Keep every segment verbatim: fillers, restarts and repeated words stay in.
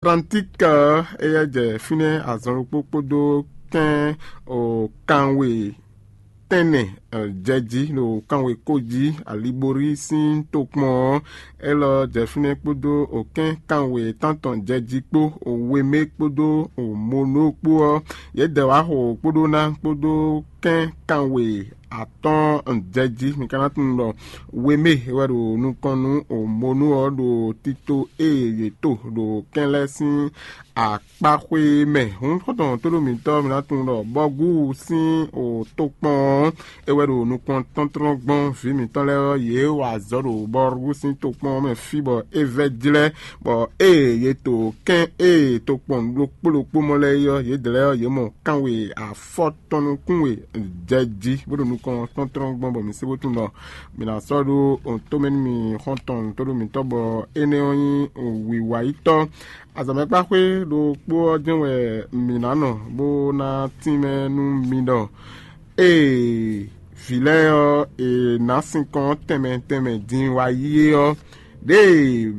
Atlantík ɔ́, éyɛ́ jɛ fínɛ́ azɔn ɖokpó kpódó kɛ́n o kanwe tɛ́nnɛ jɛ jí ɖo kanwe kó jí. Alibori sín tokpɔn ɔ́, élɔ́ jɛ fínɛ́ kpódó o kɛ́n kanwe tántɔn jɛ jí kpó, o wemé kpódó o monó kpó ɔ́, yě dɛ wǎ xo kpódó ná kpódó kɛ́n kanwe atɔ́ɔ́n jɛ jí. Mi ka ná tunwun ɖɔ wemé wɛ ɖo nukɔn nú o monú ɔ́ ɖo tito e yě to ɖo kɛ́n lɛ́ɛ sín akpáxwé mɛ. Hǔn xɔ́ntɔn tóɖó mǐtɔn, mi ná tunwun ɖɔ bɔ́gú sín o tokpɔn ɔ́, é wɛ ɖo nukɔn tɔ́ntlɔ́n gbɔn vǐ mǐtɔn lɛ́ɛ ɔ́, yě wa azɔ̌ ɖo bɔ́gú sín tokpɔn ɔ́ mɛ fí bɔ é vɛ́ jlɛ́, bɔ ée yě to kɛ́n e tokpɔn ɖokpó ɖokpó mɔ lɛ́ɛ é ɔ́, yědɛɛ lɛ́ɛ ɔ́, yě mɔ kanwe afɔtɔn nukún we jɛ jí, bó ɖo nukɔn tɔ́ntlɔ́n gbɔn, bɔ mǐ sé bó tunwun ɖɔ mǐ ná sɔ́ ɖó tomɛ nú mì xɔ́ntɔn tóɖó mǐtɔn, bɔ énɛ́ ɔ́ nyí wǐwáyítɔ́. Azɔ̌mɛkpáxwé ɖokpó ɔ́ jɛ́n wɛ mǐ ná nɔ bó ná tínmɛ nú mi ɖɔ ée vǐ lɛ́ɛ ɔ́, è nǎ sinkɔn tɛnmɛ tɛnmɛ din wá yí é ɔ́, ɖěe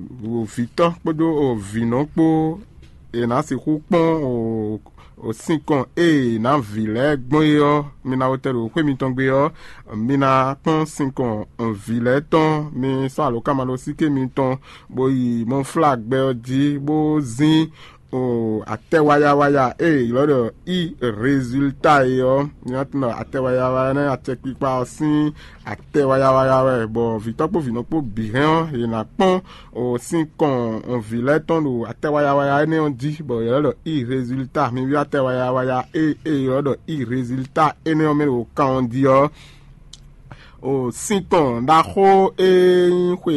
vǐtɔ́ kpódó vǐnɔ kpó è nǎ sixú kpɔ́n o sinkɔn e è nǎ vǐ lɛ́ɛ gbɔn é ɔ́, mi ná wetɛ́ ɖo xwé mitɔn gbe ɔ́, mi ná kpɔ́n sinkɔn vǐ lɛ́ɛ tɔn, mi sɔ́ alǒkanmaɖósíké mitɔn, bó yi mɔflágbɛ ɔ́ jí, bó zín o atɛ wayawaya e è ylɔ́ ɖɔ i rezilta é ɔ́, mi ná tunwun ɖɔ atɛ wayawaya énɛ́, acɛkpikpa ɔ́ sín atɛ wayawaya wɛ, bɔ vǐtɔ́ kpó vǐnɔ kpó bǐ hɛn ɔ́, yě ná kpɔ́n o sín kɔn vǐ lɛ́ɛ tɔn ɖo atɛ wayawaya énɛ́ ɔ́ jí, bɔ yě lɛ́ ɖɔ i rezilta. Mi ví atɛ wayawaya e e ylɔ́ ɖɔ i rezilta énɛ́ ɔ́ mɛ ɖo kan ɔ́ jí ɔ́, o sín kɔn ɖaxó e nyí xwe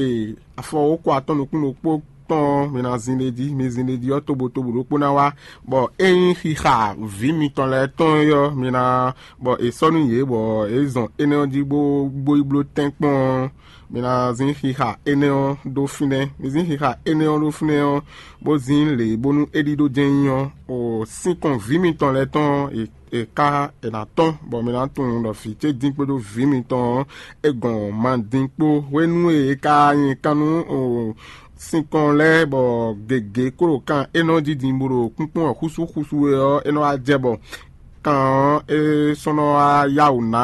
afɔwókɔ atɔ́ nukún ɖokpó tɔn ɔ́, mi ná zin ɖ'é jí. Mi zin ɖ'é jí ɔ́, tobotobo ɖokpó ná wá, bɔ é nyí xixa vǐ mitɔn lɛ́ɛ tɔn é ɔ́, mi ná bɔ è sɔ́ nú yě, bɔ é zɔn énɛ́ ɔ́ jí bó bó yi bló tɛ́nkpɔ́n ɔ́, mi ná zín xixa énɛ́ ɔ́ ɖó fínɛ́. Mi zín xixa énɛ́ ɔ́ ɖó fínɛ́ ɔ́, bó zín lě bónú é ɖíɖó jɛ́n nyí ɔ́, o sín kɔn vǐ mitɔn lɛ́ɛ tɔn ɔ́, è è ká è nǎ tɔ́n, bɔ mi ná tunwun ɖɔ vǐ ce dín kpódó vǐ mitɔn ɔ́, é gɔn ma dín kpó. Hwenu e è ka nyi kan nú o sinkɔn lɛ́ɛ, bɔ gěgé kó ɖo kan énɛ́ jí din bó ɖo kúnkún ɔ́ xúsú xúsú é ɔ́, é nɔ wá jɛ bɔ kan ɔ́ é sɔ́ nɔ wá yá wǔ ná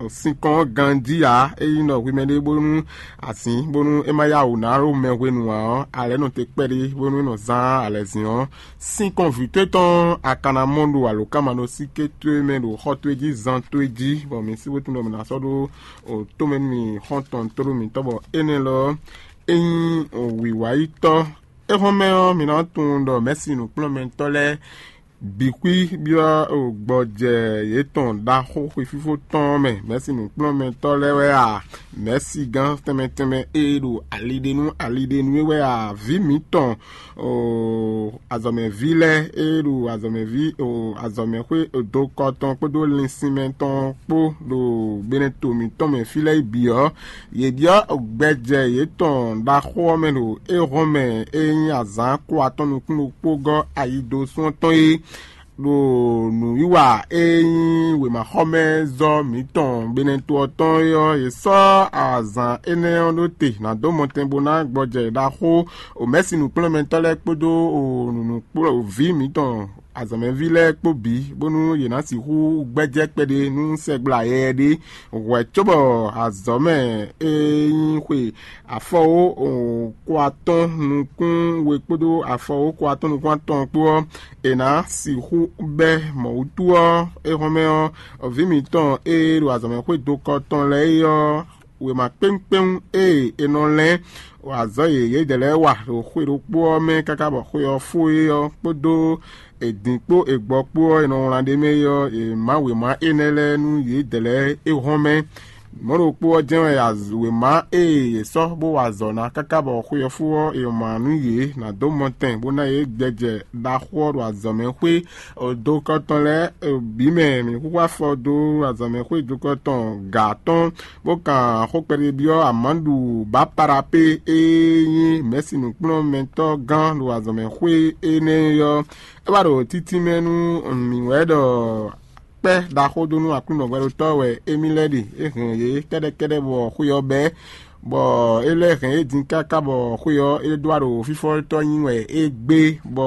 sinkɔn ɔ́ ganjí ǎ. É nyí ɖɔ hwi mɛɖé bónú azǐn bónú é má yá wǔ ná ɖo mɛ hwenu ǎ ɔ́, alɛ̌ nɔ te kpɛɖé bónú é nɔ zán alɛzǐn ɔ́, sín kɔn vǐ towe tɔn a ka ná mɔ ɖo alǒkanmaɖósíké towe mɛ ɖo xɔ towe jí zan towe jí, bɔ mǐ sí bó tunwun ɖɔ mǐ ná sɔ́ ɖó tomɛ nú mì xɔ́ntɔn tóɖó mǐtɔn, bɔ énɛ́ lɔ é nyí wǐwáyítɔ́. Éhɔ́nmɛ ɔ́, mǐ ná tunwun ɖɔ mɛ̌si nǔkplɔ́nmɛtɔ́ lɛ́ɛ bǐ xwí byɔ́ gbɔjɛ yětɔn ɖaxó xwefífó tɔn ɔ́ mɛ. Mɛ̌si nǔkplɔ́nmɛtɔ́ lɛ́ɛ wɛ a? Mɛ̌si gán tɛnmɛ tɛnmɛ e ɖo ali ɖe nú ali ɖe nú é wɛ a? Vǐ mǐtɔn azɔ̌mɛví lɛ́ɛ e ɖo azɔ̌mɛví azɔ̌mɛxwé dokɔ tɔn kpódó linsinmɛ tɔn kpó ɖo gbenɛto mǐtɔn mɛ fí lɛ́ɛ bǐ ɔ́, yě byɔ́ gbɛjɛ yětɔn ɖaxó ɔ́ mɛ ɖo éhɔ́nmɛ e nyí azǎn kó atɔ́ nukún ɖokpó gɔ́ ayi dó sún ɔ́ tɔn é. Ɖo nǔwiwa e nyí wěmaxɔmɛzɔ́ mǐtɔn Benɛto ɔ́ tɔn é ɔ́, è sɔ́ azǎn énɛ́ ɔ́ ɖó te nǎ dó mɔtɛn bó ná gbɔjɛ ɖaxó omɛ̌si nǔkplɔ́nmɛtɔ́ lɛ́ɛ kpódó nǔnukplɔ́vǐ mǐtɔn azɔ̌mɛví lɛ́ɛ kpó bǐ, bónú yě ná sixú gbɛ́jɛ́ kpɛɖé nú sɛgbla yɛyɛ ɖé. Hwɛ̌ cóbɔ azɔ̌ mɛ e nyí xwe afɔwó ko atɔ́ɔ́n nukún we kpódó afɔwó ko atɔ́ɔ́n nukún atɔn kpó ɔ́, è nǎ sixú bɛ́ mɔ̌ wútu ɔ́, éhɔ́nmɛ ɔ́, vǐ mǐtɔn e ɖo azɔ̌mɛxwé dokɔ tɔn lɛ́ɛ é ɔ́, wěma kpéwúnkpéwún e è nɔ lɛ́n azɔ̌ yěyé dɛ̌ lɛ́ɛ wa ɖo xwe ɖokpó ɔ́ mɛ káká bɔ xwe ɔ́ fó é ɔ́ kpódó è din kpó è gbɔ kpó ɔ́, è nɔ wlán ɖ'é mɛ é ɔ́, è má wěma énɛ́ lɛ́ɛ nú yědɛɛ lɛ́ɛ é hɔn mɛ. Mɔ̌ ɖokpó ɔ́ jɛ́n wɛ wěma e è sɔ́ bó wa azɔ̌ ná káká bɔ xwe ɔ́ fó ɔ́, è ma nú yě ná dó mɔtɛn bó ná yě gbɛjɛ ɖaxó ɔ́ ɖo azɔ̌mɛxwé dokɔ tɔn lɛ́ɛ bǐ mɛ. Mǐ xúxú afɔ dó azɔ̌mɛxwé dokɔ tɔn gǎ tɔn, bó kan xó kpɛɖé byɔ́ Amadu Baparapé e nyí mɛ̌si nǔkplɔ́nmɛtɔ́ gán ɖo azɔ̌mɛxwé énɛ́ ɔ́. É wá ɖo títí mɛ nú mǐ wɛ ɖɔ kpɛ́ ɖaxó dó nú Aklúnɔ hwɛɖótɔ́ wɛ émí lɛ́ɛ ɖe. É hɛn yě kɛ́ɖɛ́kɛ́ɖɛ́ bɔ xwé ɔ́ bɛ́, bɔ é lɛ́ hɛn é din káká bɔ xwé ɔ́, é ɖó wá ɖo fífɔ́tɔ́ nyi wɛ é gbé, bɔ